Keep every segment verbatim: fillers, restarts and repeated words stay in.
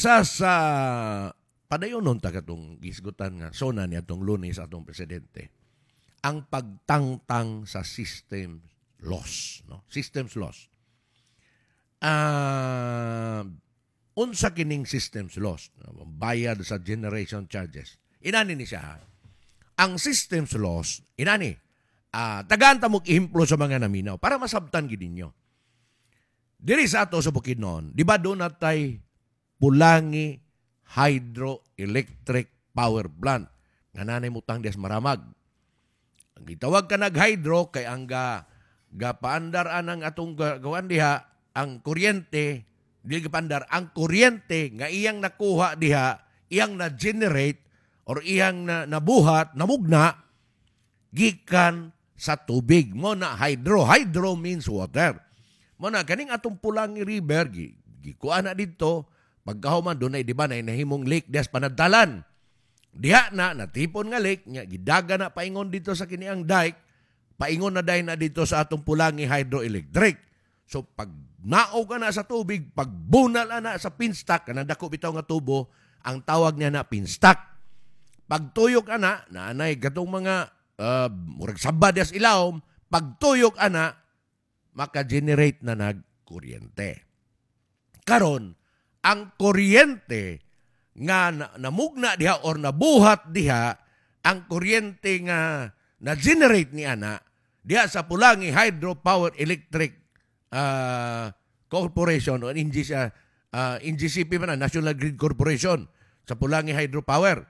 Isa sa padayonon ta katong gisgutan nga SONA ni atong Lunes atong presidente ang pagtangtang sa system loss, no? Systems loss. Ah, unsa kining systems loss? Bayad sa generation charges. Inani ni siya. Ha? Ang systems loss, inani. Ah, tagaan ta mo ehemplo sa mga naminaw para masabtan gid ninyo. Diri sa ato sa Bukidnon, di ba duna tay Pulangi Hydroelectric Power Plant nga nanay mutang dias Maramag. Ang gitawag ka nag-hydro kay ang ga gapaandar anang atong gawan diha ang kuryente dili gapaandar ang kuryente nga iyang nakuha diha iyang na-generate or iyang na, nabuhat namugna gikan sa tubig mo na hydro hydro means water mo na kaning atong Pulangi River gi, gikuha na didto pagkahuman dunay di ba na nahimong lake dias Panadtalan diha na natipon nga lake nya gidaga na paingon dito sa kiniang dike paingon na dayon na dito sa atong Pulangi Hydroelectric so pag naog ka na sa tubig pag bunal na sa penstock kanang dako bitaw nga tubo ang tawag niya na penstock pagtuyok ana naanay katong mga uh, murag saba dias ilawom pagtuyok ana maka-generate na nag kuryente karon ang kuryente nga namugna diha or nabuhat diha ang kuryente nga na-generate ni ana diha sa Pulangi Hydropower Electric uh, Corporation o NGC, uh, NGCP man na, National Grid Corporation sa Pulangi Hydropower.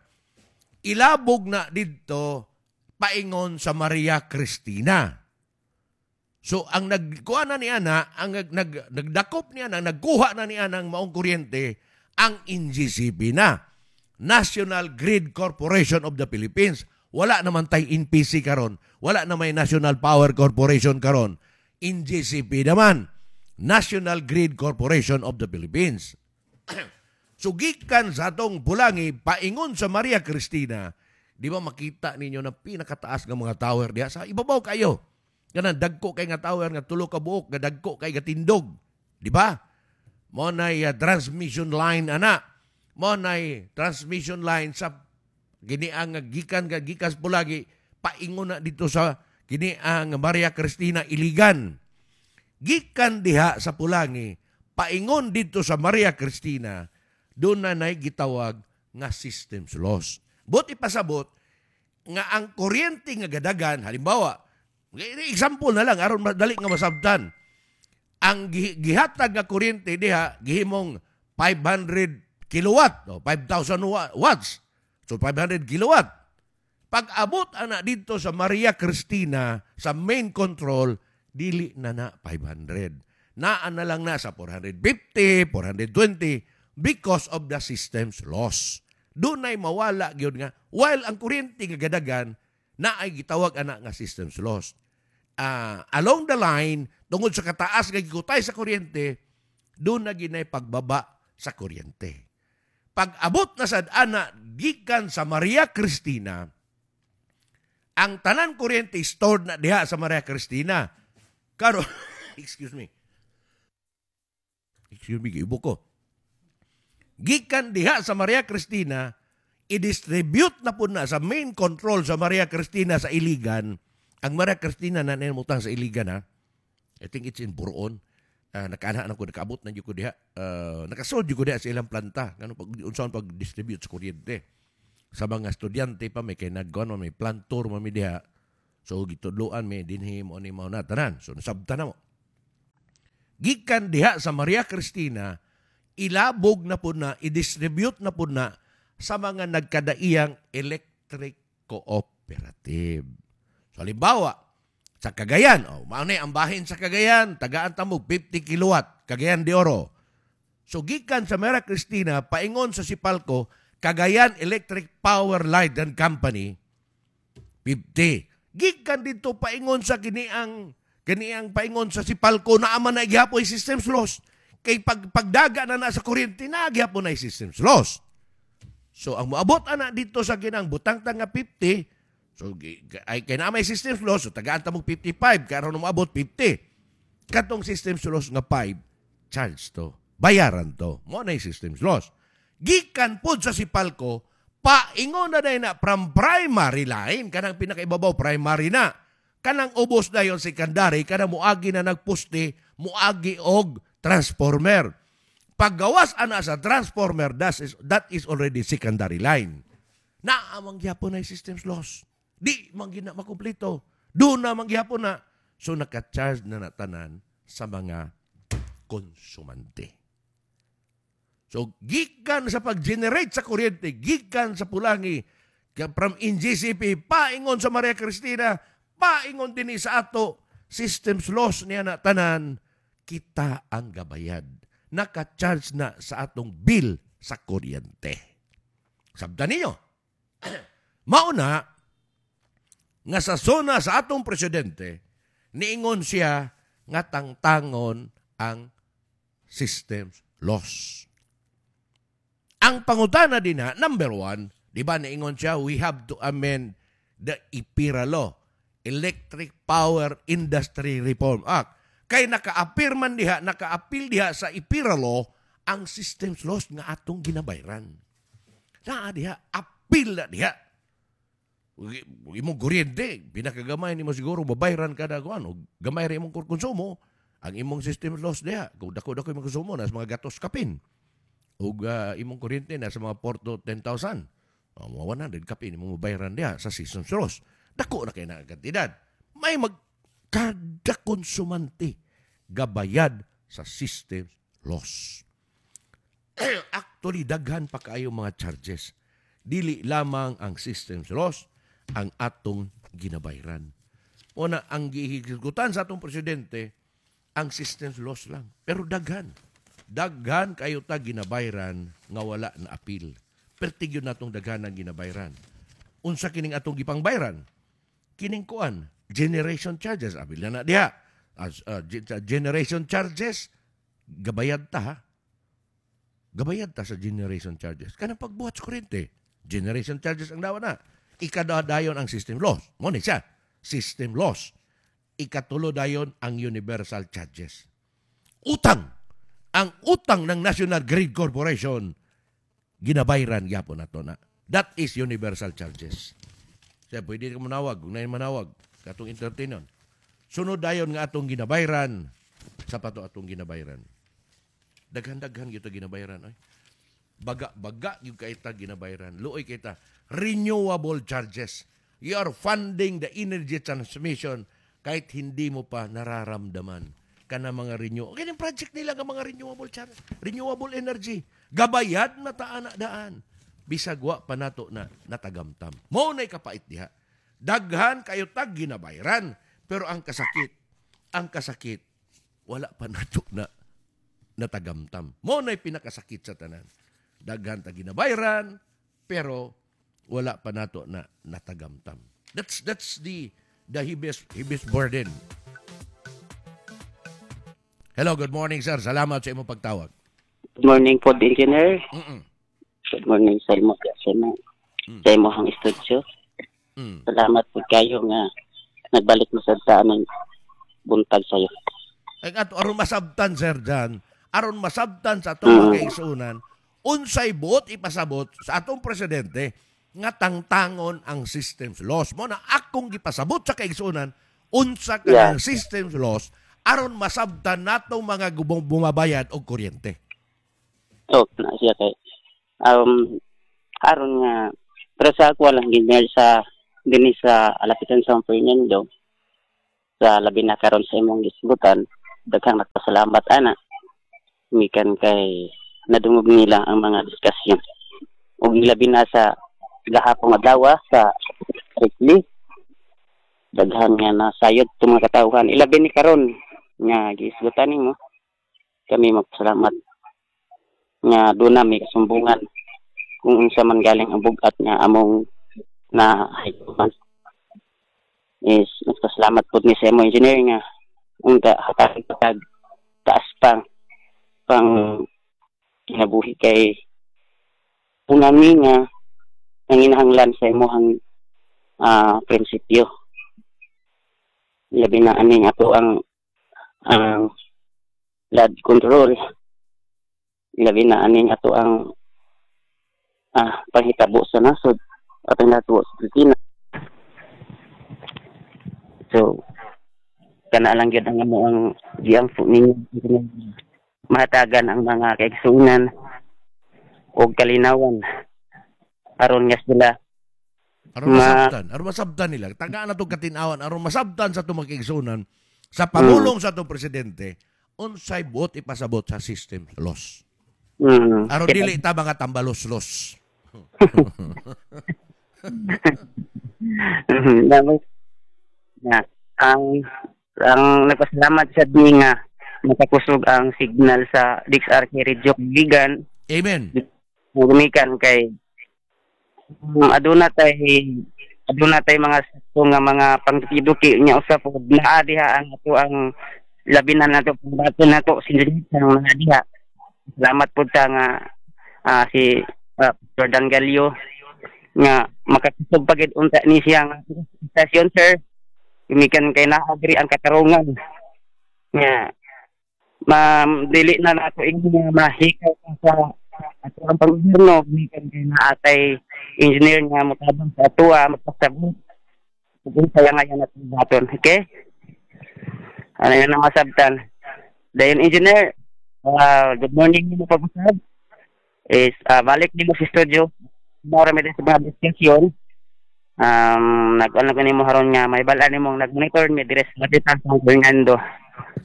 Ilabog na didto paingon sa Maria Cristina. So ang nagkuha na ni ana, ang nag, nag, nagdakop ni ana, nagkuha na ni ana ang maong kuryente, ang NGCP na. National Grid Corporation of the Philippines. Wala naman tay NPC karon. Wala na may National Power Corporation karon. NGCP naman. National Grid Corporation of the Philippines. so gikan sa atong Pulangi paingon sa Maria Cristina, di ba makita ninyo na pinakataas nga mga tower diha sa ibabaw kayo. Kanang dagko kay nga tower nga tulo ka buok, nga dagko kay nga tindog. Di ba? Mo nay uh, transmission line ana. Mo nay transmission line sa kini ang gikan ga gikas Pulangi paingon na dito sa kini ang Maria Cristina Iligan. Gikan diha sa Pulangi paingon dito sa Maria Cristina doon na nay gitawag nga systems loss. But ipasabot nga ang kuryente nga gadagan halimbawa example na lang aron madali nga masabtan ang gihatag nga kuryente diha gihimong five hundred kilowatt o five thousand watts so five hundred kilowatt pag abot ana dito sa Maria Cristina sa main control dili na na five hundred naa na lang na sa four hundred fifty, four hundred twenty because of the system's loss dunay mawala gyud nga while ang kuryente nga gadagan na ay gitawag ana nga systems loss uh, along the line tungod sa kataas nga gikutay sa kuryente doon na ginay pagbaba sa kuryente pag abot na sad ana gikan sa Maria Cristina ang tanan kuryente stored na diha sa Maria Cristina karon excuse me excuse me giubo ko gikan diha sa Maria Cristina i-distribute na po na sa main control sa Maria Cristina sa Iligan. Ang Maria Cristina na nanimutang sa Iligan, ha? I think it's in Buron. Uh, nakaana na ko, nakaabot na ko diha. Uh, nakasold ko diha sa ilang planta. Ngano pag unsaon pag-distribute sa kuryente. Sa mga estudyante pa may kay nagkuan may plant tour mami diha. So gitudloan may dinhi mo ni mao na tanan. So nasabtan na mo. Gikan diha sa Maria Cristina, ilabog na po na, i-distribute na po na sa mga nagkadaiyang electric cooperative. So halimbawa, sa Cagayan, oh, mao ni ang bahin sa Cagayan, tagaan ta mo fifty kilowatt, Cagayan de Oro. So gikan sa Maria Cristina, paingon sa Sipalco, Cagayan Electric Power Light and Company, fifty. Gikan dito paingon sa kiniang, kiniang paingon sa Sipalco, na ama na gihapon systems loss. Kay pag, pagdaga na na sa kuryente, na gihapon na systems loss. So ang moabot ana dito sa kinang butang ta nga fifty, so ay kay na may systems loss, so tagaan ta mo fifty-five, karon moabot fifty. Katong systems loss nga five, charge to. Bayaran to. Mo na systems loss. Gikan pod sa Sipalco, paingon na na from primary line, kanang pinakaibabaw, primary na. Kanang ubos na yon secondary, kanang muagi na nagpuste, muagi og transformer. Paggawas ana sa transformer, that is, that is already secondary line. Naa man gyapon na systems loss. Di man gina makumpleto. Doon na man gyapon na. So naka-charge na natanan sa mga konsumante. So gikan sa pag-generate sa kuryente, gikan sa Pulangi, from N G C P, paingon sa Maria Cristina, paingon din sa ato, systems loss niya na tanan, kita ang gabayad. Naka-charge na sa atong bill sa kuryente. Sabta ninyo. Mauna, nga sa zona sa atong presidente, niingon siya nga tangtangon ang systems loss. Ang pangutana din na, number one, di ba niingon siya, we have to amend the EPIRA law, Electric Power Industry Reform Act. Kay naka-appear man diha, naka-appeal diha sa EPIRA law, ang systems loss nga atong ginabayran. Naa diha, appeal na diha. Imong kuryente, pinakagamay nimo siguro babayran kada kuan og gamay ra imong konsumo, ang imong system loss diha, kung dako-dako imong konsumo nasa mga gatos kapin. Ug uh, imong kuryente nasa mga four to ten thousand. O, mga one hundred kapin imong mabayran diha sa system loss. Dako na kay na kantidad. May mag kada konsumante gabayad sa system loss. Actually, daghan pa kaayo mga charges. Dili lamang ang systems loss ang atong ginabayran. Una, ang gihisgutan sa atong presidente, ang systems loss lang. Pero daghan. Daghan kayo ta ginabayran nga wala na appeal. Pertig yun natong daghan ang ginabayran. Unsa kining atong gipangbayran? Kining kuan, generation charges. Apil na na diha. As, uh, generation charges, gabayad ta ha. Gabayad ta sa generation charges. Kanang pagbuhat sa kuryente, generation charges ang dawa na. Ikaduha dayon ang system loss. Mo ni siya, system loss. Ikatulo dayon ang universal charges. Utang. Ang utang ng National Grid Corporation ginabayran gyapon nato na. That is universal charges. Siya, pwede ka manawag, kung nain manawag, katong entertainon. Sunod dayon nga atong ginabayran, sa pato atong ginabayran. Daghan-daghan gyud ginabayran ay. Baga-baga yung kaita ginabayran. Luoy kita. Renewable charges. You are funding the energy transmission kahit hindi mo pa nararamdaman kana mga renew. Kini project nila nga mga renewable charge, renewable energy. Gabayad na taan na daan. Bisag wa pa nato na natagamtam. Mo na'y kapait diha. Daghan kayo tag ginabayran, pero ang kasakit, ang kasakit wala pa nato na natagamtam. Mo na'y pinakasakit sa tanan. Daghan ta ginabayran, pero wala pa nato na natagamtam. That's that's the the heaviest, heaviest burden. Hello, good morning, sir. Salamat sa imong pagtawag. Good morning po, engineer. Mm-mm. Good morning sa imo sa imo Mm. sa imong studio. Mm. Salamat po kayo nga nagbalik mo sa aming buntag sayo. Ay ato aron masabtan, sir, Jan, aron masabtan sa atong Mm. mga kaigsuonan unsay buot ipasabot sa atong presidente nga tangtangon ang systems loss. Mo na akong gipasabot sa kaigsuonan unsa Yeah. kanang systems loss aron masabtan natong mga gubong bumabayad og kuryente. Oh, na siya kay um aron nga pero sa ako lang, engineer, sa dinhi sa Alapitan San Fernando, sa labi na karon sa imong gisgutan, daghang nagpasalamat ana mikan kay nadungog nila ang mga diskusyon ug labi na sa gahapon adlaw sa Ricli, daghan nga nasayod itong mga katawhan. Ilabi ni karon nga gisgutan nimo kami, magpasalamat nga doon na may kasumbungan kung unsa man galing ang bugat nga among na hayuman is nagpasalamat pud ni sa imo, engineer, nga unta hatag tag taas pang pang kinabuhi kay punami nga nanginahanglan sa imong ah prinsipyo, labi na aning ato ang ang flood control, labi na aning ato ang ah, panghitabo sa nasod atong natuwa sa Pilipinas. So kana lang gyud ang amo ang giampo ninyo, mahatagan ang mga kaigsuonan og kalinawan aron nga sila Aron Ma- masabtan, aron masabtan nila. Tagaan na itong katinawan, aron masabtan sa itong mga sa pamulong sa itong presidente, unsay buot ipasabot sa system laws. mm, Aron kita- dili ta mga tambalos-los. Mhm, Tapos, na ang ang nagpasalamat sa di nga makakusog ang signal sa D X R K Radio Gigan. Amen. Gumikan kay um, aduna tay aduna tay mga sakto nga mga pangkiduki nya usa pod naa diha ang ato ang labi na nato pangbato nato si ang naa diha. Salamat pud ta nga ah, si uh, Jordan Galio nga makakusog pagid unta ni siya nga station, sir, gumikan kay naa-agree ang katarungan nga ma dili na nato ingon nga mahikaw ka sa ato ang panggobyerno gumikan kay naatay engineer nga motabang sa atoa magpasabot ug unsa nga yan atong baton. Okay, ano yan ang masabtan. Dayon, engineer, ah, good morning nimo pag-usab is ah, balik nimo sa studio. Mora mi din sa mga diskusyon, um nag-ano ko nimo haron nga may bala nimong nag-monitor mi dire sa Lapitan San Fernando.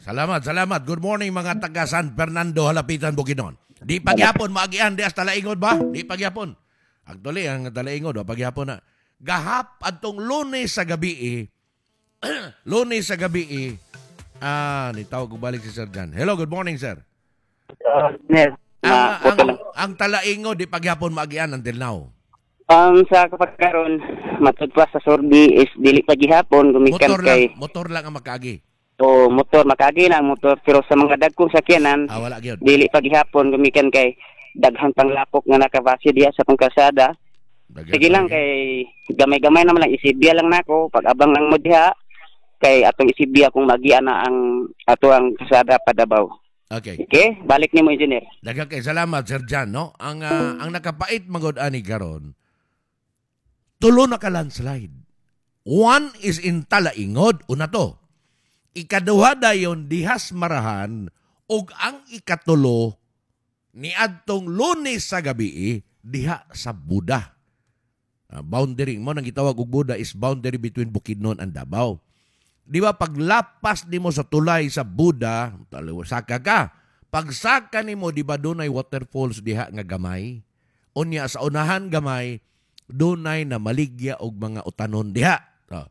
Salamat, salamat. Good morning, mga taga San Fernando, Halapitan, Bukidnon. Di pagyapon maagian di hasta Talaingod ba? Di pagyapon. Actually, ang Talaingod, wa pagyapon na. Gahap adtong Lunes sa gabi eh. Lunes sa gabi eh. Ah, nitawag ko balik si Sir John. Hello, good morning, sir. Yes, Ang, na, ang, ang Talaingod, di pagyapon maagian until now. Um, sa kapag karon matud pa sa Sorbi is dili pa gihapon gumikan Motor kay lang, motor lang ang makaagi. O motor, makaagi na ang motor, pero sa mga dagkong sakyanan Ah, wala gyud. dili pa gihapon gumikan kay daghan pang lapok nga nakabase diha sa pang kalsada. Daghan Sige lang pa. kay gamay-gamay naman lang, isibya lang nako pag abang lang mo diha kay atong isibya kung magian na ang ato ang kalsada padabaw. Okay. Okay, balik nimo, engineer. Daghang kay salamat, Sir John, no? Ang ah, ang nakapait magod ani karon, tulo na ka landslide. One is in Talaingod, una to. Ikaduha dayon dihas Marahan ug ang ikatulo niadtong Lunes sa gabi diha sa Buda. Ah, boundary mo nang gitawag og Buda is boundary between Bukidnon and Davao. Di ba paglapas nimo sa tulay sa Buda, taliw saka ka. Pagsaka nimo, di ba dunay waterfalls diha nga gamay? Unya sa unahan gamay dunay na maligya og mga utanon diha. Oh.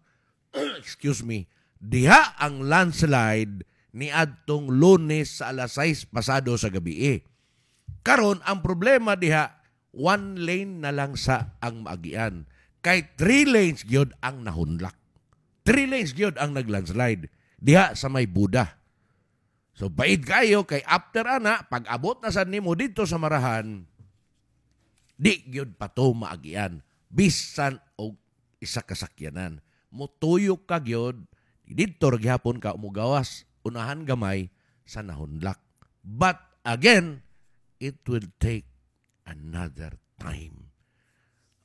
Excuse me. Diha ang landslide ni adtong Lunes sa alas sais pasado sa gabi. Eh. Karon ang problema diha, one lane na lang sa ang maagian. Kay three lanes gyud ang nahunlak. Three lanes gyud ang naglandslide diha sa may Buda. So bait kayo kay after ana, pag abot na sad nimo dito sa Marahan, di gyud pa to maagian bisan og isa ka sakyanan. Mutuyok ka gyud didto ra gihapon ka umugawas unahan gamay sa nahunlak. But again, it will take another time.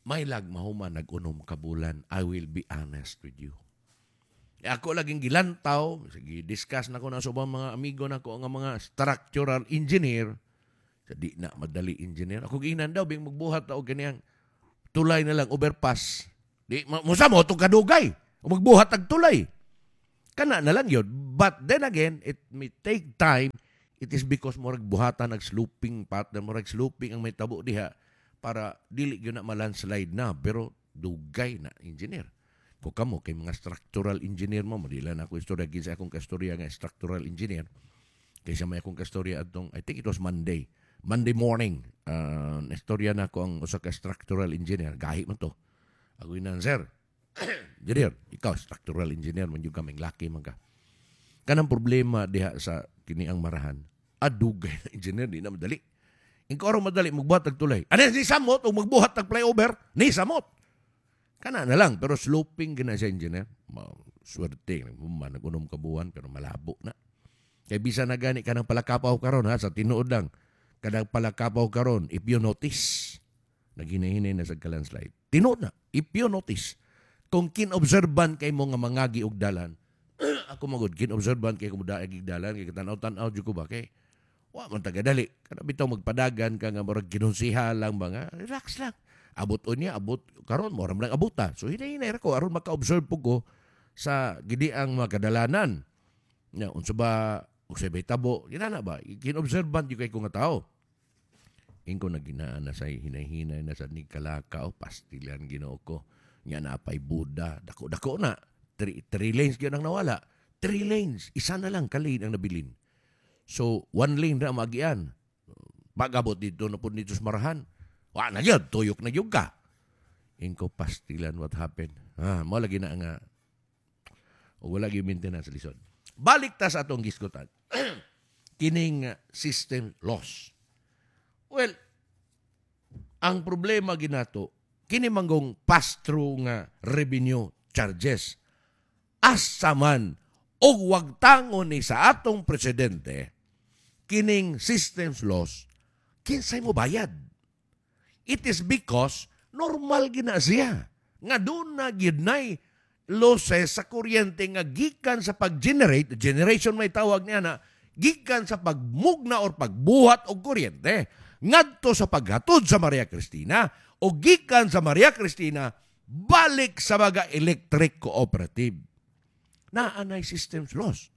May lag mahuman nag-unom ka bulan, I will be honest with you. E ako laging gilantaw, sige, discuss na ko na sa ubang mga amigo na ko nga mga structural engineer. Sa di na madali, engineer. Ako giinan daw, bing magbuhat og kaniyang tulay na lang, overpass. Di, ma- musa mo, itong kadugay. O magbuhat og tulay. Kana na lang yun. But then again, it may take time. It is because murag buhatan nag sloping pattern, murag sloping ang may tabo diha para dili gyud na malandslide na. Pero dugay na, engineer. Ko kamo kay mga structural engineer mo, madila na ako istorya kinsa akong kastorya nga structural engineer. Kaysa may akong kastorya atong, I think it was Monday. Monday morning, uh, istorya na ko ang usa ka structural engineer. Gahi man to. Ako inan, "Sir, engineer, ikaw structural engineer man jud kaming laki man ka. Kanang problema diha sa kini ang Marahan. Adugay na, engineer, di na madali. Ingko aron madali magbuhat og tulay. Ano ni samot og magbuhat og flyover? Ni samot. Kana na lang, pero sloping gina siya, engineer. Ma, swerte man nag-unom ka buwan pero malabo na. Kay bisan na gani kanang palakapaw karon ha, sa tinuod lang. Kanang palakapaw karon, if you notice, Naghinay-hinay na sa ka-landslide. Tinuod na, if you notice, kung kinobserban kay mo nga mangagi og dalan, ako magod kinobserban kay ko modaag dalan kay tanaw-tanaw jud ko ba kay wa man tagadali kana bitaw magpadagan ka nga murag kinonsiha lang ba nga relax lang abot unya abot karon mo lang abuta so hinay-hinay ra ko aron maka-observe po ko sa gidi ang mga kadalanan nya unsa ba unsay bay tabo ginana ba kinobserban jud kay ko nga tao ingko naginaan na sa hinay-hinay na sa ni kalaka o pastilan Ginoo ko nya napay Buda dako dako na three, three lanes gyud ang nawala three lanes isa na lang ka lane ang nabilin so one lane ra magian pag-abot dito na pud dito sa Marahan wa na gyud tuyok na gyud ka ingko pastilan what happened ah mo lagi na nga o wala gyud maintenance lisod balik ta sa atong gisgutan kining uh, system loss well ang problema ginato kini manggong pass-through nga revenue charges asa man og wagtangon ni sa atong presidente kining systems loss kinsay mo bayad it is because normal gina siya nga doon na gyud nay losses sa kuryente nga gikan sa pag-generate generation may tawag niya na gikan sa pagmugna or pagbuhat og kuryente ngadto sa paghatod sa Maria Cristina o gikan sa Maria Cristina balik sa mga electric cooperative naanay systems loss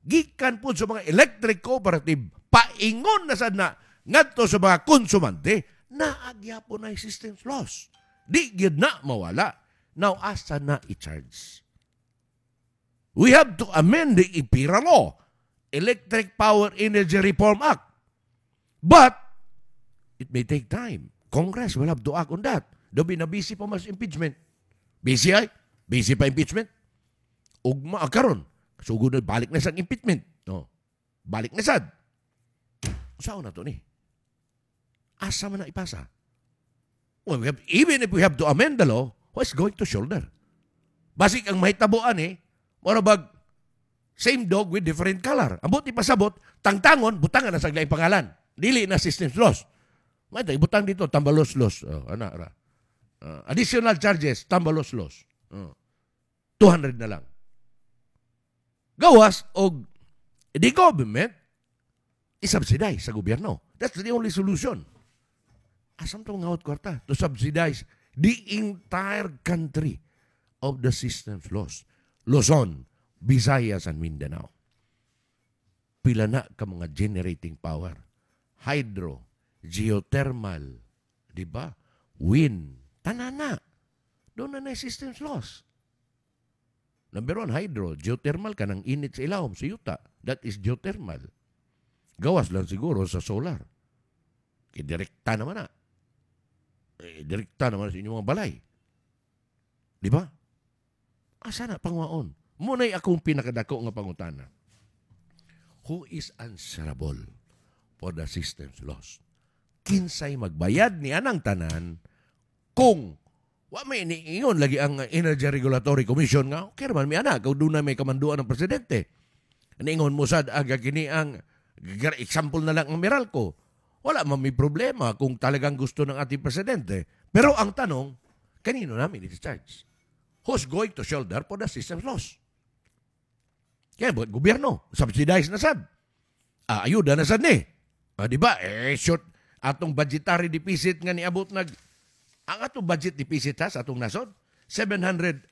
gikan po sa mga electric cooperative paingon na sad na ngadto sa mga konsumante naagyapon na systems loss di gyud na mawala now asa na i-charge we have to amend the EPIRA law Electric Power Energy Reform Act but it may take time Congress will have to act on that Dobi na busy pa mas impeachment busy ay busy pa impeachment ugma karon sugod na balik na sa impeachment no balik na sad Saan na to ni asa man na ipasa well, we have, even if we have to amend the law who is going to shoulder basik ang mahitabuan eh mura bag same dog with different color ang buti pasabot tangtangon butangan na sa laing pangalan dili na systems loss may ibutang dito tambalos loss oh, ana ra Uh, additional charges tambalos loss oh. two hundred na lang gawas og the government isubsidize sa gobyerno. That's the only solution. Asam to ngawat kwarta to subsidize the entire country of the systems loss. Luzon, Visayas, and Mindanao. Pila na ka mga generating power. Hydro, geothermal, di ba? Wind, tanan na. Doon na na systems loss. Number one, hydro. Geothermal ka ng init sa ilawom, sa yuta. That is geothermal. Gawas lang siguro sa solar. Kaya direkta naman na. Eh, direkta naman sa inyong mga balay. Di ba? Asa na pangwaon? Muna'y akong pinakadako nga pangutana. Who is answerable for the system's loss? Kinsay magbayad ni anang tanan kung wa may iniingon lagi ang Energy Regulatory Commission nga okay man mi ana kung doon na may kamanduan ng presidente. Niingon mo sad aga kini ang example na lang ang Meralco. Wala man may problema kung talagang gusto ng ating presidente. Pero ang tanong, kanino namin i-charge? Who's going to shoulder for the system's loss? Kaya buhat gobyerno, subsidize na sad. Ah, ayuda na sad ni. Ah, di ba? Eh, short atong budgetary deficit nga niabot nag ang atong budget deficit ha, sa atong nasod seven hundred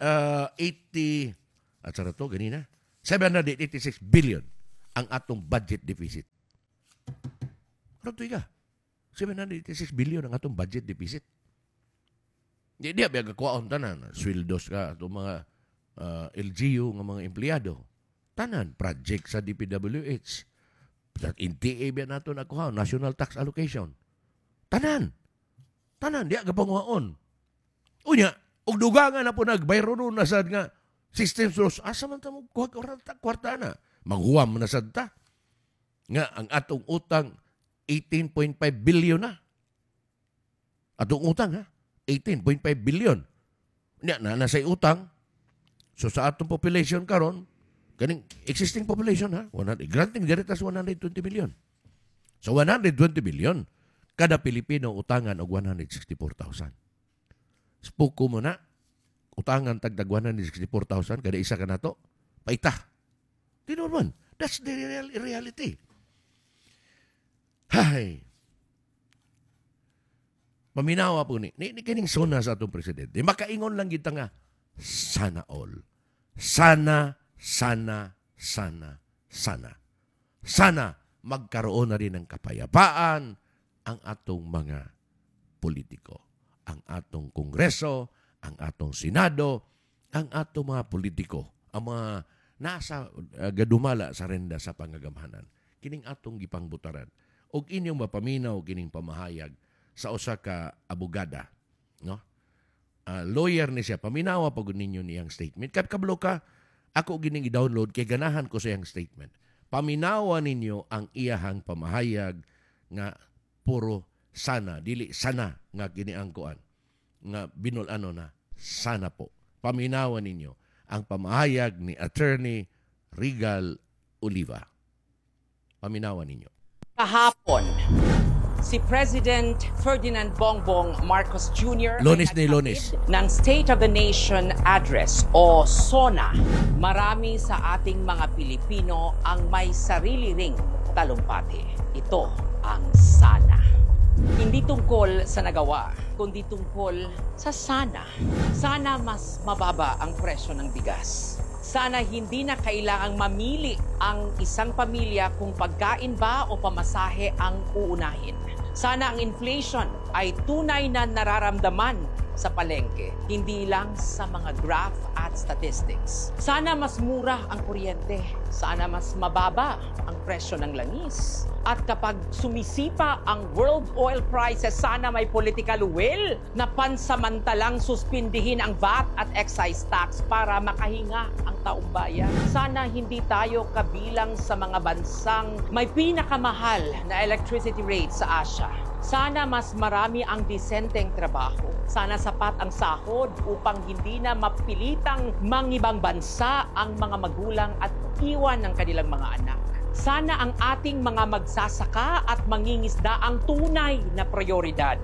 eighty at sa to ganina seven hundred eighty-six billion ang atong budget deficit. Ano to ka? seven hundred eighty-six billion ang atong budget deficit. Di di biya kuwaon tanan, sweldos ka atong mga uh, L G U nga mga empleyado. Tanan project sa D P W H. Sa N T A biya nato nakuha, National Tax Allocation. Tanan. Tanan diya gapanguhaon. Unya, og dugangan na po nagbayro na sad nga system loss. Asa man ta mo kuha kwarta, kwarta na? Maghuwam na sad ta. Nga ang atong utang eighteen point five billion na. Atong utang ha, eighteen point five billion. Nya na nasa utang. So sa atong population karon, kaning existing population ha, one hundred, granting diri tas one hundred twenty million. So one hundred twenty billion Kada Pilipino utangan og one hundred sixty-four thousand. Spuko mo na, utangan tagtag one hundred sixty-four thousand kada isa ka nato. Paita. Tinuod man. That's the real reality. Hay. Paminawa po ni, ni, ni kining SONA sa atong presidente. Makaingon lang kita nga, sana all. Sana, sana, sana, sana. Sana magkaroon na rin ng kapayapaan ang atong mga politiko. Ang atong kongreso, ang atong senado, ang atong mga politiko, ang mga nasa uh, gadumala sa renda sa pangagamhanan. Kining atong gipangbutaran. Og inyong mapaminaw kining pamahayag sa usa ka abogada, no? Ah, lawyer ni siya. Paminawa pag ninyo niyang statement. Kay kabalo ka, ako gining i-download kay ganahan ko sa iyang statement. Paminawa ninyo ang iyahang pamahayag nga puro sana, dili sana nga kini ang kuan nga binul-ano na sana po. Paminawa ninyo ang pamahayag ni Attorney Regal Oliva. Paminawa ninyo. Kahapon, si President Ferdinand Bongbong Marcos Junior Lunes ay ni Lunes. Naghatid ng State of the Nation Address o SONA. Marami sa ating mga Pilipino ang may sarili ring talumpati. Ito ang sana. Hindi tungkol sa nagawa, kundi tungkol sa sana. Sana mas mababa ang presyo ng bigas. Sana hindi na kailangang mamili ang isang pamilya kung pagkain ba o pamasahe ang uunahin. Sana ang inflation ay tunay na nararamdaman sa palengke, hindi lang sa mga graph at statistics. Sana mas mura ang kuryente. Sana mas mababa ang presyo ng langis. At kapag sumisipa ang world oil prices, sana may political will na pansamantalang suspindihin ang V A T at excise tax para makahinga ang taong bayan. Sana hindi tayo kabilang sa mga bansang may pinakamahal na electricity rate sa Asia. Sana mas marami ang disenteng trabaho. Sana sapat ang sahod upang hindi na mapilitang mangibang bansa ang mga magulang at iwan ng kanilang mga anak. Sana ang ating mga magsasaka at mangingisda ang tunay na prioridad.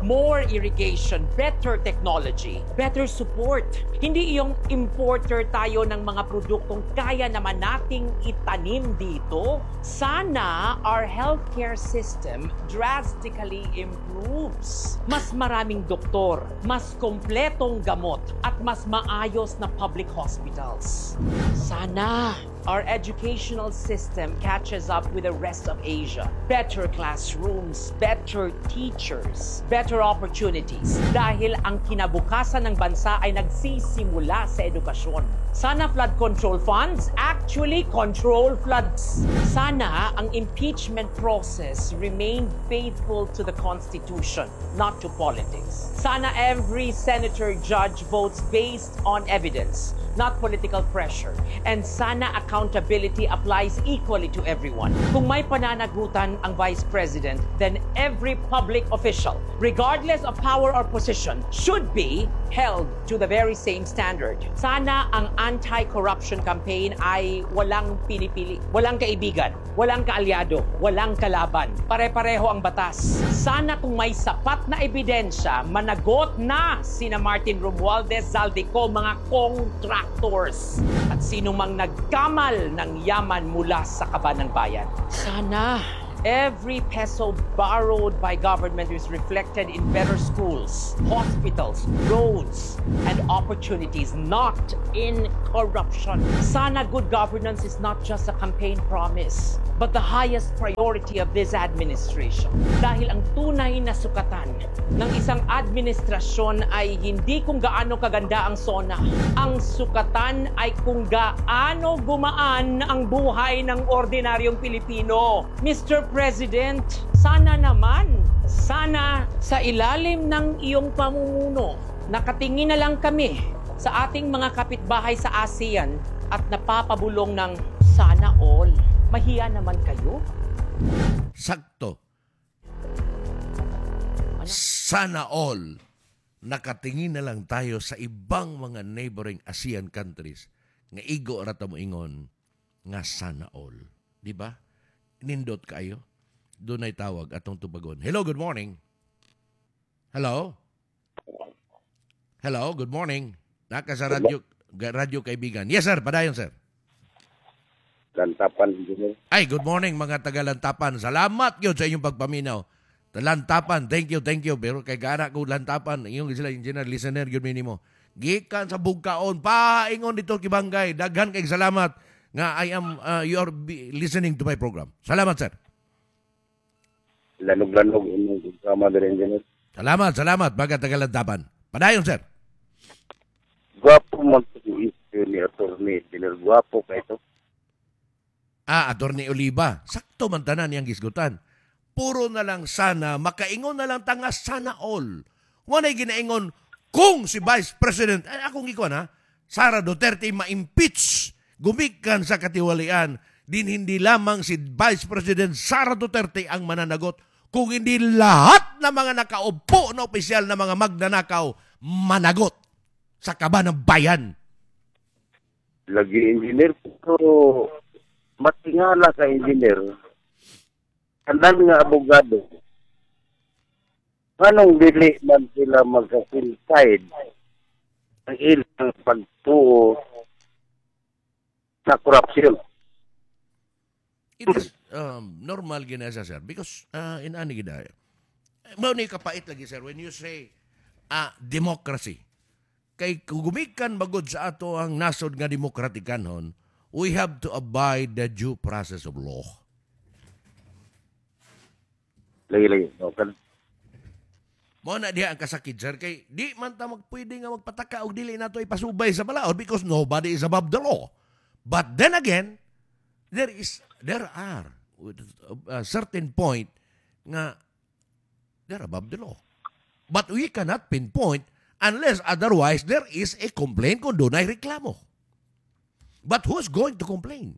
More irrigation, better technology, better support. Hindi iyong importer tayo ng mga produktong kaya naman nating itanim dito. Sana our healthcare system drastically improves. Mas maraming doktor, mas kompletong gamot, at mas maayos na public hospitals. Sana our educational system catches up with the rest of Asia. Better classrooms, better teachers, better opportunities. Dahil ang kinabukasan ng bansa ay nagsisimula sa edukasyon. Sana flood control funds actually control floods. Sana ang impeachment process remain faithful to the Constitution, not to politics. Sana every senator judge votes based on evidence, not political pressure. And sana accountability applies equally to everyone. Kung may pananagutan ang Vice President, then every public official, regardless of power or position, should be held to the very same standard. Sana ang anti-corruption campaign ay walang pinipili, walang kaibigan, walang kaalyado, walang kalaban. Pare-pareho ang batas. Sana kung may sapat na ebidensya, managot na sina Martin Romualdez, Zaldy Co, mga contractors at sino mang nagkamal ng yaman mula sa kaban ng bayan. Sana every peso borrowed by government is reflected in better schools, hospitals, roads, and opportunities, not in corruption. Sana good governance is not just a campaign promise, but the highest priority of this administration. Dahil ang tunay na sukatan ng isang administrasyon ay hindi kung gaano kaganda ang SONA. Ang sukatan ay kung gaano gumaan ang buhay ng ordinaryong Pilipino. Mister President, sana naman, sana sa ilalim ng iyong pamumuno, nakatingin na lang kami sa ating mga kapitbahay sa ASEAN at napapabulong ng "Sana all." Mahiya naman kayo. Sakto. Sana all. Nakatingin na lang tayo sa ibang mga neighboring ASEAN countries nga igo ra ta mo ingon nga sana all. Di ba? Nindot kayo. Dunay tawag atong tubagon. Hello, good morning. Hello? Hello, good morning. Naka sa radyo, radyo kaibigan. Yes, sir. Padayon, sir. Lantapan, engineer. Ay, good morning mga taga-Lantapan. Salamat yun sa inyong pagpaminaw. Lantapan, thank you, thank you. Pero kay gara ko Lantapan, iyong sila engineer, listener, yun minimo. Gikan sa bugkaon, paingon dito kibangay. Daghan kay salamat nga I am, uh, you are be listening to my program. Salamat, sir. Lanog-lanog imong programa diri, engineer. Salamat, salamat, mga taga-Lantapan. Padayon, sir. Gwapo man issue ni attorney, engineer. Gwapo kay to. Ah, Attorney Oliva, sakto man tanan niyang gisgutan. Puro na lang sana, makaingon na lang tanga sana all. Walay ginaingon kung si Vice President, ay akong ikuan ha, Sara Duterte ma-impeach, gumikan sa katiwalian, din hindi lamang si Vice President Sara Duterte ang mananagot, kung hindi lahat ng mga nakaupo na opisyal na mga magnanakaw managot sa kaba ng bayan. Lagi, engineer, pero matingala ka, engineer. Tanan nga abogado. Anong dili man sila magka-coincide ang ilang pagtuo sa korupsyon? It is um, normal gina siya, sir, because uh, inani gid mao ni kapait lagi, sir, when you say uh, democracy. Kay gumikan magod sa ato ang nasod nga demokratikanhon, we have to abide the due process of law. Lagi, lagi. Okay. Mao na diha ang kasakit, sir, kay di man ta magpwede nga magpataka og dili nato ipasubay sa balaod because nobody is above the law. But then again, there is there are a certain point nga they're above the law. But we cannot pinpoint unless otherwise there is a complaint kung dunay reklamo. But who's going to complain?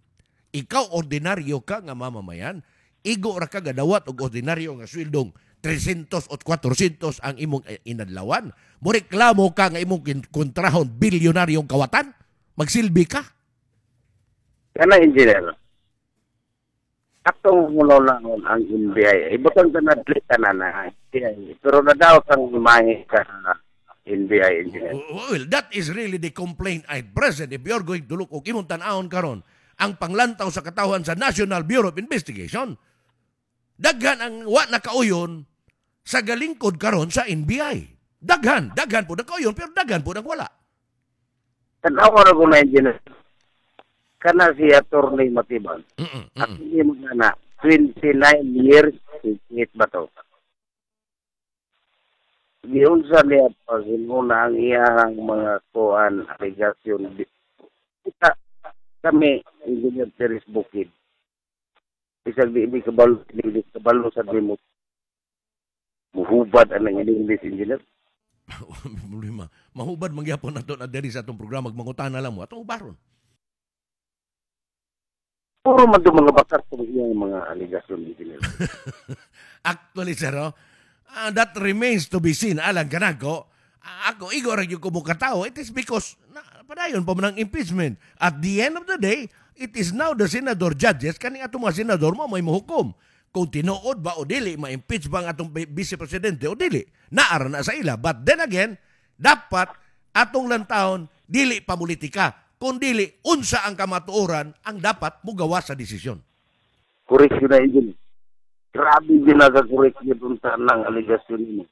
Ikaw ordinaryo ka nga mamamayan, igo ra ka gadawat og ordinaryo nga swildong three hundred o four hundred ang imong inadlawan. Mo reklamo ka nga imong kontrahon bilyonaryong kawatan? Magsilbi ka? Kana, engineer. Atong mulolangon ang N B I. Ibutang ka na dili tanan na N B I. Pero nadaot ang imahe ka N B I, engineer. Well, that is really the complaint at present. If you're going to look og imong tan-awon karon, ang panglantaw sa katawhan sa National Bureau of Investigation, daghan ang wa nakauyon sa galingkod karon sa N B I. Daghan, daghan po nakauyon, pero daghan po ang wala. Tanawa ra ko na, engineer. Kana si Attorney Matibag. Mm-mm, Ako mm-mm. mo na twenty-nine years hit ba to? Giunsa niya pag inuna ang iyang mga kuan alegasyon. Kita kami, Engineer Teres Bukid. Bisag di di kabalo, di kabalo sa dimo. Muhubad ang English, engineer. Problema. Mahubad mangyapon nato na diri sa atong programa, magmangutana lang mo atong ubaron. Puro man do mga bakar sa iyang mga alegasyon, engineer. Actually, sir, oh, ah, that remains to be seen. Alang kanako, ah, ako, igo ra gyud ko mo katao. It is because, na, padayon pa man ang impeachment. At the end of the day, it is now the senador judges, kaning atong mga senador mo may mohukom. Kung tinuod ba o dili, ma-impeach ba ang atong vice presidente o dili. Naara na sa ila. But then again, dapat atong lantahon, dili pamulitika, kung dili, unsa ang kamatuoran ang dapat mugawa sa desisyon. Correct yun na, engineer. Grabe din nagakorek niya doon sa nang alegasyon niya.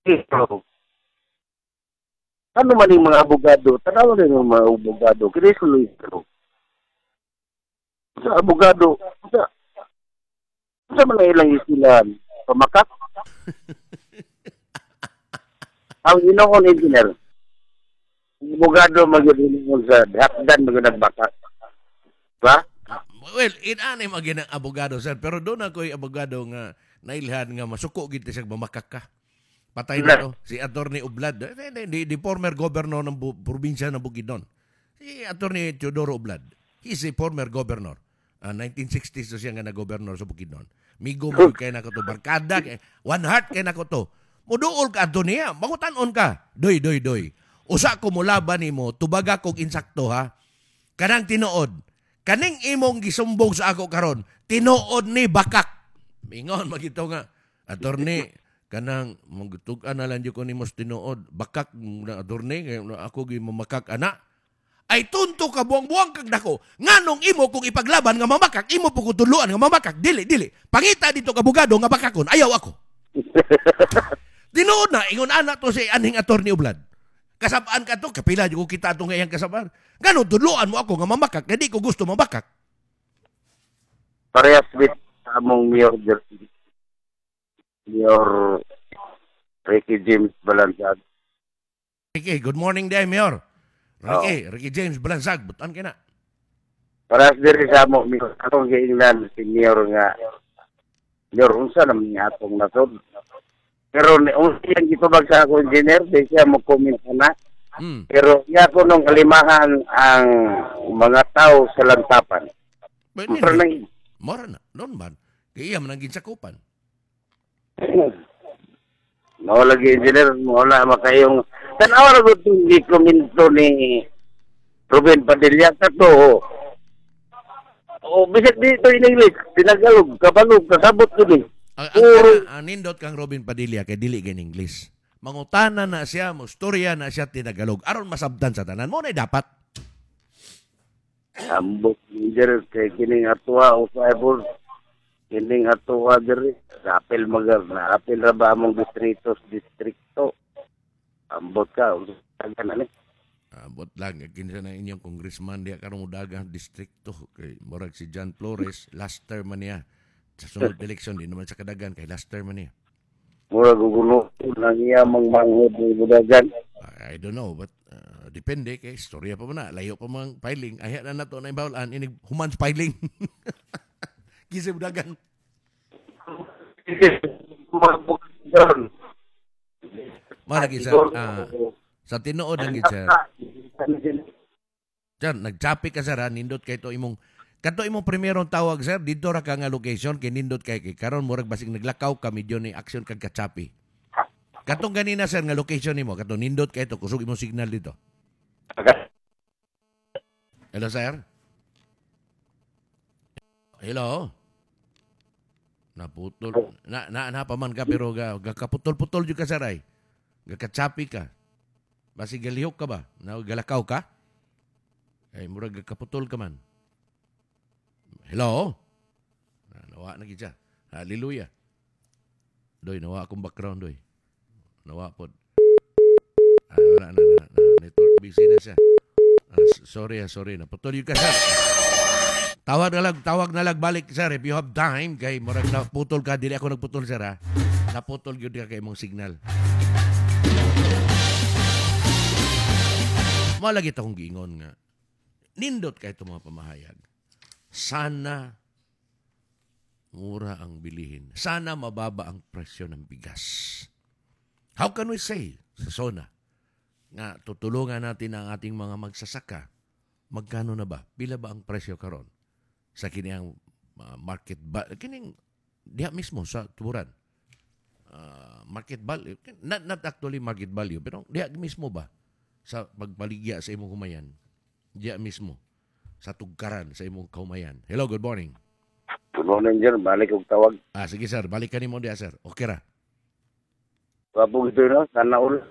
Pero, ano man yung mga abogado, tanawa na yung mga abogado, kini Luis pero, sa abogado, sa, sa mga ilang isilan, pamakak. Ang inoon, engineer, ang abogado magyud sa hapdan magyud nagbakak. Ba? Well, inanay magin ang abogado, sir. Pero doon ako'y abogado nga nailhan nga masuko gid siya mamakak ka. Patay na to. Si Attorney Ublad. Eh, The, the, the former governor ng bu- probinsya ng Bukidnon. Si Attorney Teodoro Ublad. He's a former governor. Uh, nineteen sixties to siya nga na-governor sa Bukidnon. Migo mo kay nako to. Barkada. Kay, one heart kay nako to. Muduol ka ato niya. Mangutan-on ka. Doy, doy, doy. Usa ko mulaban nimo, tubaga kog insakto ha. Kanang tinuod. Kaning imong gisumbong sa ako karon, tinuod ni bakak. Mingon magito nga attorney kanang magtug-an na lang jud ko nimo sa tinuod bakak na attorney kay ako gi mamakak ana ay tunto ka buang-buang kag dako nganong imo kung ipaglaban nga mamakak imo po ko tudloan nga mamakak dili dili pangita dito ka abogado nga bakakon ayaw ako tinuod na ingon ana to si anhing attorney Oblad kasabaan ka to kapila jud ko kita ato nga iyang kasabaan ngano tudloan mo ako nga mamakak kay di ko gusto mamakak Parehas with among mayor diri. Mayor Ricky James Balansag. Ricky good morning day mayor Ricky Ricky James Balansag butan kay na Parehas diri sa amo mayor. Akong giingnan si mayor nga Mayor unsa naman nga atong nasod. Pero ni unsa iyang gitubag sa ako engineer, di siya mo comment na. mm. Pero iya ko nung kalimahan ang mga tao sa lantapan. But, Pero nang Mora na, noon man. Kay iya man ang ginsakupan. Mao lagi engineer, wala makayong tanawa ra gud tong gikomento ni Ruben Padilla kato. O bisag dito in English, tinagalog, kabalog, kasabot ko ni. Ang, ang, Puro ang, ang nindot kang Robin Padilla kay dili kay English. Mangutana na siya, mustorya na siya tinagalog. Aron masabtan sa tanan mo na dapat. ambot engineer kay kining atuwa o five kining atuwa diri sa apel magar na apel ra ba among distrito sa distrikto. Ambot ka unsa na ni. Ambot lang kinsa na inyong congressman diya karong mudagang distrikto kay murag si John Flores last term man niya. Sa sunod election di naman sa kadagan kay last term man niya. Murag gugulo nang iya mang manghod ni budagan. I don't know but uh, depende kay istorya pa man na layo pa mang filing ayha na nato na ibawalan inig human filing. Kinsa budagan. Mga Malagi sa ah, sa tinuod ang gid sir. Sir, nagchapi ka sir ha, nindot kay to imong kato imong primerong tawag sir, didto ra ka nga location kay nindot kay kay karon murag basig naglakaw ka medyo ni action kag kachapi. Katong ganina sir nga location nimo, katong nindot kay to kusog imong signal dito. Hello sir. Hello. Naputol. Na na, na pa man ka pero ga, ga kaputol-putol jud ka sir ay. Gakachapi ka. Basig galihok ka ba? Na galakaw ka? Ay murag kaputol ka man. Hello? Na, nawa na gid siya. Hallelujah. Doy, nawa akong background doy. Nawa pod. Ah, wala na, na, na, network busy na siya. Ah, s- sorry, ah, sorry. Naputol yun ka, sir. Tawag na lang, tawag na lang balik, sir. If you have time, kay murag naputol ka, dili ako nagputol, sir, ha. Naputol yun ka kay imong signal. Malagi akong giingon nga. Nindot kay itong mga pamahayag. Sana mura ang bilihin. Sana mababa ang presyo ng bigas. How can we say sa SONA nga tutulungan natin ang ating mga magsasaka? Magkano na ba? Pila ba ang presyo karon sa kini ang uh, market ba kining diha mismo sa tuburan. Uh, market value not not actually market value pero diha mismo ba sa pagbaligya sa imong humayan diha mismo sa tugkaran sa imong kahumayan. Hello, good morning. Good morning, sir. Balik og tawag. Ah, sige sir, balik ka nimo diha sir. Okay ra. Wapog ito no? Sana ulo.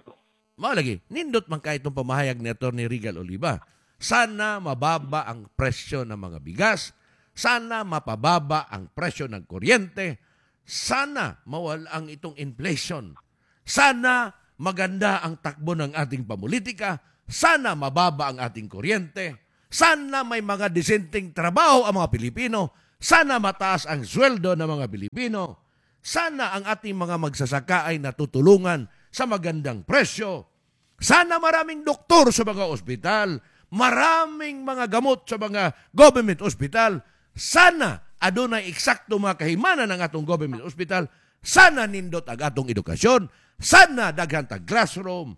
Mao lagi, nindot man kay itong pamahayag ni Attorney Regal Oliva. Sana mababa ang presyo ng mga bigas. Sana mapababa ang presyo ng kuryente. Sana mawala ang itong inflation. Sana maganda ang takbo ng ating pamulitika. Sana mababa ang ating kuryente. Sana may mga disenteng trabaho ang mga Pilipino. Sana mataas ang sweldo ng mga Pilipino. Sana ang ating mga magsasaka ay natutulungan sa magandang presyo. Sana maraming doktor sa mga ospital, maraming mga gamot sa mga government hospital. Sana adunay eksakto mga kahimanan ng atong government hospital. Sana nindot ang atong edukasyon. Sana daghan tag classroom.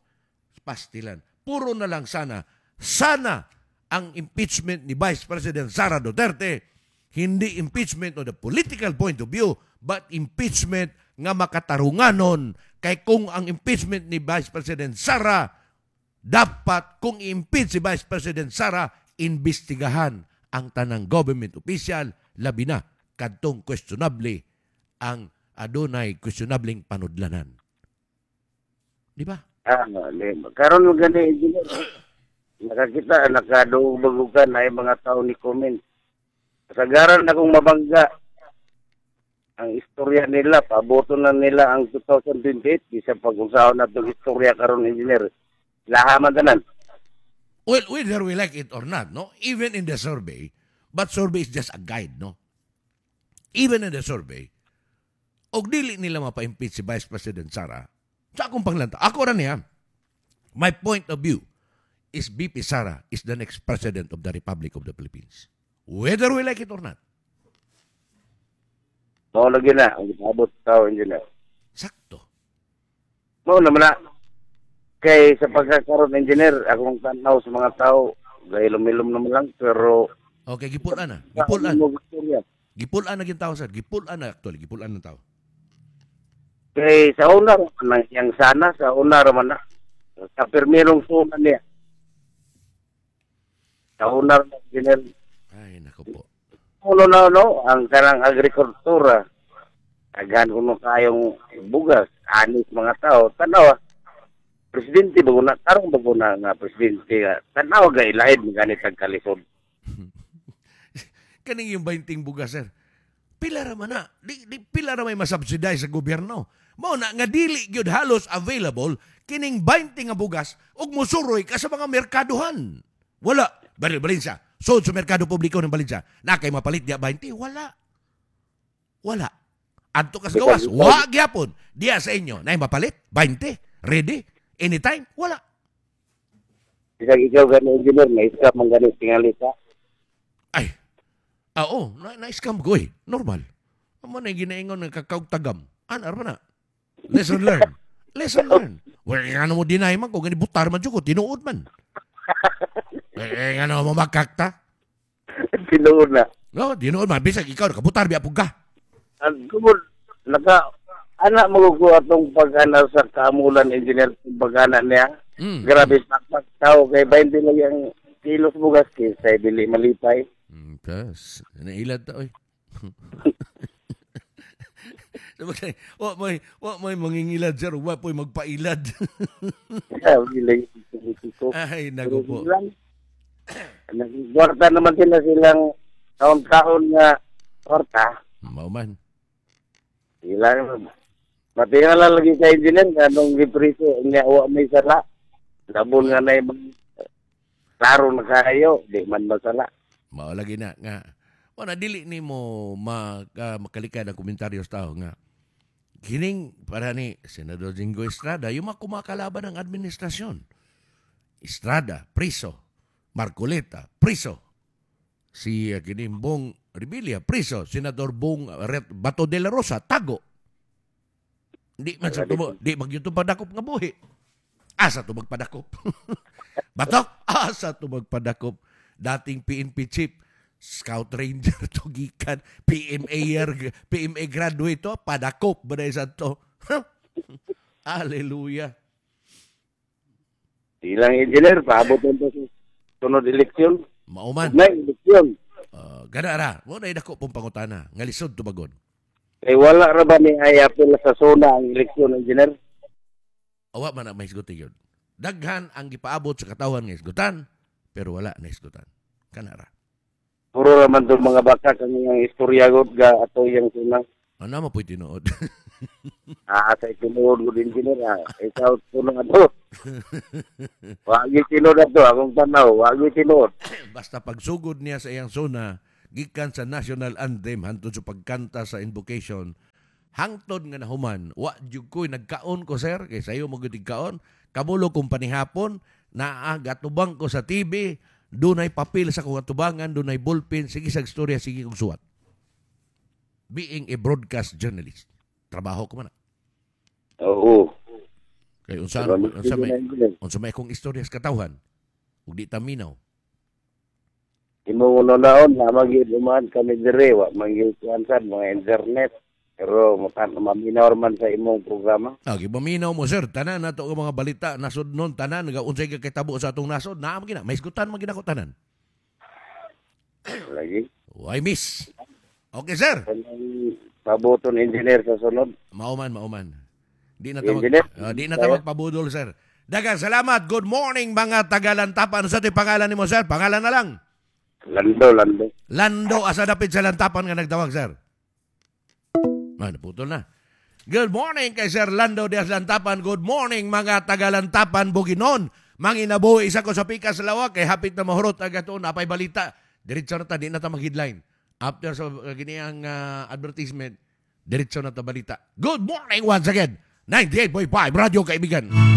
Pastilan. Puro na lang sana. Sana ang impeachment ni Vice President Sara Duterte hindi impeachment on the political point of view, but impeachment nga makatarunganon. Kay kung ang impeachment ni Vice President Sara, dapat kung i-impeach si Vice President Sara, imbestigahan ang tanang government official, labi na kadtong questionable ang adunay questionableng panudlanan. Di ba? Ah, di. Karon mo gani, engineer. Nakakita, nakaduog-bagugan ay mga tao ni comment. Kasagaran na kung mabangga ang istorya nila, paboto na nila ang twenty twenty-eight, bisa pag-usahan na itong istorya karon, engineer. Lahaman tanan. Well, whether we like it or not, no? Even in the survey, but survey is just a guide, no? Even in the survey, og dili nila mapa-impeach si Vice President Sara, sa akong panglanta, ako ra niya, my point of view is V P Sara is the next President of the Republic of the Philippines. Whether we like it or not. Mao lagi na, ang gipaabot sa tao, engineer. Sakto. Mao naman na. Kay sa pagkakaroon, engineer, akong tanaw sa mga tao, gahilom-hilom naman lang, pero Okay, gipulan na. Gipulan. Mo istorya. Gipulan na gyud tao, sir. Gipulan na actually, gipulan ng tao. Kay sa una raman ang iyang sana, sa una raman na. Sa pirmirong suna niya. Sa una raman, engineer. Ay, nako po. Uno na no, ang kanang agrikultura. Daghan kuno kayong bugas, anis mga tao. Tanawa, presidente bago na, karong bago na nga presidente. Tanawa ga ilahid mga ganit ang kalisod. Kaning yung bainting bugas, sir. Pila ra man na. Di, di, pila ra may masubsidize sa gobyerno. Mao na nga dili gyud halos available kining bainte nga bugas ug musuroy ka sa mga merkaduhan. Wala. Bali Valencia. Sud sa merkado publiko ng Valencia. Na kay mapalit diya bainte? Wala. Wala. Adto ka sa gawas, wa gyapon. Diya sa inyo, nay mapalit bainte. Ready? Anytime? Wala. Bisag ikaw gani, engineer, na iska man gani tingali ka. Ay. Ah, oo, na, na-scam ko eh. Normal. Amo na yung ginaingon ng kakaog tagam. Ano, arma na. Lesson learned. Lesson learned. Well, nga mo deny man ko, gani butar man jud ko, tinuod man. Eh, nga mo makakta. Tinuod na. No, tinuod man. Bisag ikaw, nakabutar, biya pug ka. Ang gumod, naka, anak mo ko atong pag-ana sa kamulan, engineer, pag-ana niya. Mm. Grabe, pakpak tao, kay bainte lang yung kilos bugas, kaysa dili malipay. Mm, tas, nailad ta, oy. Sabagay, wa may wa may mangingilad, sir, wa po'y magpailad. Yeah, dili politiko. Ay, naku po. Nagkwarta naman sila silang taon-taon nga kwarta. Mao man. Sila matingala lagi ka, engineer, nga nung gipriso niya wa may sala. Labon nga na yung klaro na kayo, di man masala. Mao lagi na nga. Wala dili nimo ma, uh, makalikad ang komentaryo sa tao nga kining para ni Senador Jinggoy Estrada yung mga kumakalaban ng administrasyon. Estrada, priso. Marcoleta, priso. Si uh, kining Bong Revilla, priso. Senador Bong Ret- Bato de la Rosa, tago. Di man sa tumo, di magyud padakop nga buhi. Asa to magpadakop? Bato, asa to magpadakop? Dating P N P chief, Scout Ranger to gikan, P M A P M A graduate to, padakop ba na isa to? Hallelujah. Silang engineer, paabot nito sa sunod eleksyon. Mauman. May eleksyon. Uh, gana ra, mo na dako pong pangutana, nga lisod tubagon. Kay wala ra ba ni ay apil sa zona ang eleksyon, engineer? Awa man na may isguti yun. Daghan ang gipaabot sa katawhan nga isgutan, pero wala na isgutan. Kana ra. Puro ra man tong mga baka kang iyang istorya gud ga ato iyang suna. Ano mo po'y tinuod? Ah, sa tinuod gud, engineer, ah. Ikaw kuno ato. Wa gyud tinuod ato akong tanaw, wa gyud tinuod. Basta pagsugod niya sa iyang zona, gikan sa national anthem hantod sa pagkanta sa invocation, hangtod nga nahuman, wa jud ko'y nagkaon ko, sir, kay sayo mo gyud kaon, kamulo kong panihapon, naa gatubang ko sa T V, dunay papel sa akong atubangan, dunay ballpen, sige sa istorya, sige kong suwat. Being a broadcast journalist, trabaho ko man na. Oo. Kay unsa unsa may unsa may akong istorya sa katawhan, ug di ta minaw. Imo naon na magyud uman kami dire wa man gyud kuan sad mga internet. Pero matan maminaw man sa imong programa. Ah, gipaminaw mo, sir, tanan nato ang mga balita nasod nun, tanan nga unsay kakitabo sa atong nasod, naa man gina, may isgutan man gina ko tanan. Lagi. Why miss? Okay, sir. Kanang Pabuton engineer sa sunod. Mauman, mauman. Di na ta mag, Engineer. Ah, di na ta magpabudol, sir. Daghang salamat. Good morning, mga tagalantapan. Sa ti pangalan nimo, sir? Pangalan na lang. Lando, Lando. Lando, asa dapit sa Lantapan nga nagtawag, sir? Ah, naputol na. Good morning kay Sir Lando Diaz Lantapan. Good morning, mga tagalantapan Buginon. Manginabuhi isa ko sa pikas sa lawak kay hapit na mahurot ang ato napay balita. Diretso na ta, di na ta mag-headline. After sa uh, giniang uh, advertisement, diretso na ta balita. Good morning once again. ninety-eight point five Radyo Kaibigan.